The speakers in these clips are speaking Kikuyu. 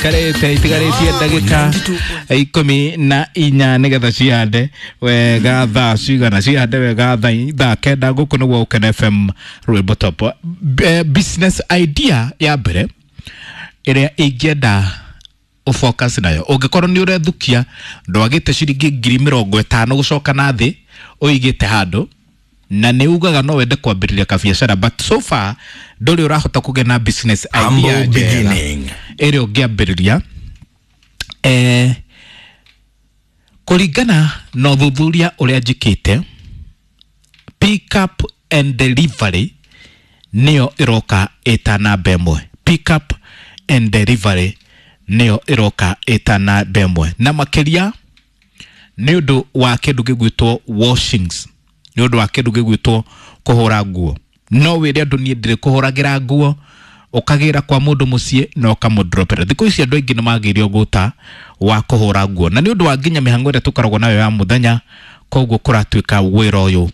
Karĩte itigarĩtie ndagĩka 14 nĩgetha cihande wega thaa cigana, cihande wega thaa 9. Gũkũ nĩguo Ũkene FM, rwĩmbo top. Business idea ya mbere ĩrĩa ingĩenda ũfocus nayo, ũngĩkorwo nĩ ũrethukia ndwagĩte ciringi 50,000 gũcoka na thĩ ũigĩte handũ, na nĩ ugaga no wende kwambĩrĩria kabiacara, but so far ndũrĩ ũrahota kũgĩa na business idea Humble njega beginning. ĩrĩa ũngĩambĩrĩria. Kũringana na ũthuthuria ũrĩa njĩkĩte, pick up and delivery nĩyo ĩroka ĩta namba ĩmwe. Pick up and delivery nĩyo ĩroka ĩta namba ĩmwe, na makĩria nĩ ũndũ wa kĩndũ gĩgwĩtwo washings, nĩ ũndũ wa kĩndũ gĩgwĩtwo kũhũra nguo. No wĩre andũ, "Niĩ ndĩrĩ kũhũragĩra nguo," ũkagĩra kwa mũndũ mũciĩ na ũkamũdropera. Thikũ ici andũ aingĩ nĩ magĩire ũgũta wa kũhũra nguo, na nĩ ũndũ wa nginya mĩhang'o ĩrĩa tũkoragwo nayo ya mũthenya, koguo kũratuĩka wĩra ũyũ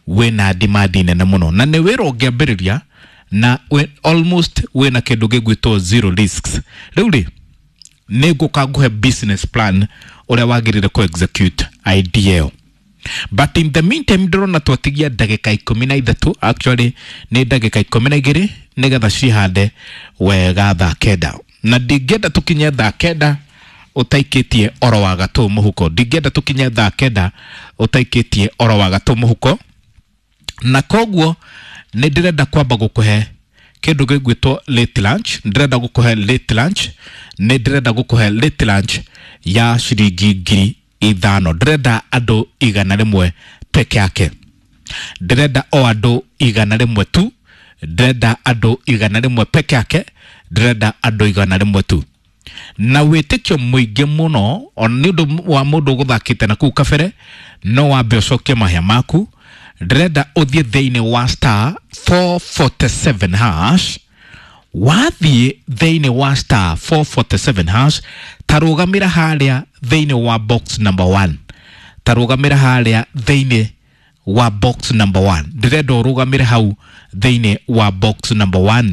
wĩna demand nene mũno, na nĩ wĩra ũngĩambĩrĩria na almost wĩna kĩndũ gĩgwĩtwo zero risks. Rĩu rĩ, nĩ ngũka ngũhe business plan ũrĩa wagĩrĩire kũ execute idea ĩyo, but in the meantime ndĩrona twatigia ndagĩka 13, actually nĩ ndagĩka 12 nĩgetha cihande wega thaa 9, na ndingĩenda tũkinye thaa 9 ũtaikĩtie oro wa gatũ mũhuko. Ndingĩenda tũkinye thaa 9 ũtaikĩtie oro wa gatũ mũhuko, na koguo nĩ ndĩrenda kwamba gũkũhe kĩndũ gĩgwĩtwo late lunch. Ndĩrenda gũkũhe late lunch, nĩ ndĩrenda gũkũhe late lunch ya ciringi 5,000. Ndĩrenda andũ 100 peke yake, ndĩrenda o andũ 100 tu, ndĩrenda andũ 100 peke yake, ndĩrenda andũ 100 tu. Na wĩtĩkio mũingĩ mũno, ona nĩ ũndũ wa mũndũ ũgũthakĩte na kũu kabere, no wambe ũcokie mahĩa maku. Ndĩrenda ũthiĩ thĩinĩ wa *447 hash. Wathiĩ thĩinĩ wa *447 hash, tarũgamĩra harĩa thĩinĩ wa box number 1, tarũgamĩra harĩa thĩinĩ wa box number 1. Ndĩrenda ũrũgamĩre hau thĩinĩ wa box number 1.